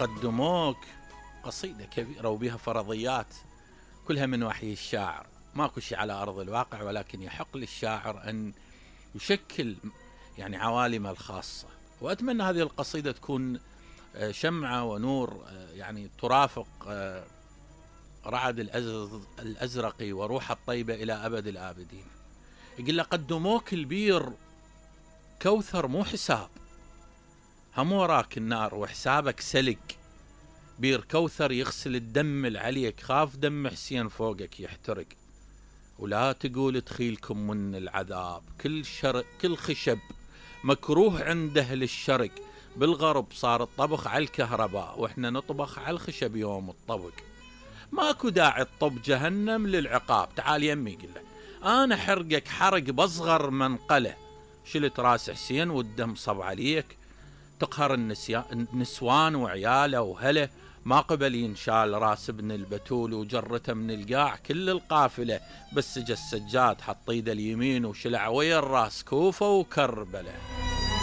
قدموك قصيدة كبيرة وبها فرضيات كلها من وحي الشاعر، ماكو شيء على أرض الواقع، ولكن يحق للشاعر أن يشكل يعني عوالمه الخاصة. وأتمنى هذه القصيدة تكون شمعة ونور يعني ترافق رعد الأزرق وروح الطيبة إلى أبد الآبدين. يقول له قدموك البير كوثر مو حساب، هم وراك النار وحسابك سلق، بير كوثر يغسل الدم العليك، خاف دم حسين فوقك يحترق. ولا تقول تخيلكم من العذاب، كل خشب مكروه عند أهل الشرق، بالغرب صار الطبخ على الكهرباء واحنا نطبخ على الخشب يوم الطبق. ماكو داعي تطب جهنم للعقاب، تعال يمي قل له انا حرقك حرق بصغر منقله، شلت راس حسين والدم صب عليك، تقهر النسوان وعياله وهله، ما قبل ينشال راس ابن البتول وجرته من القاع كل القافله، بس جا السجاد حط ايده اليمين وشلع ويا الراس كوفه وكربله.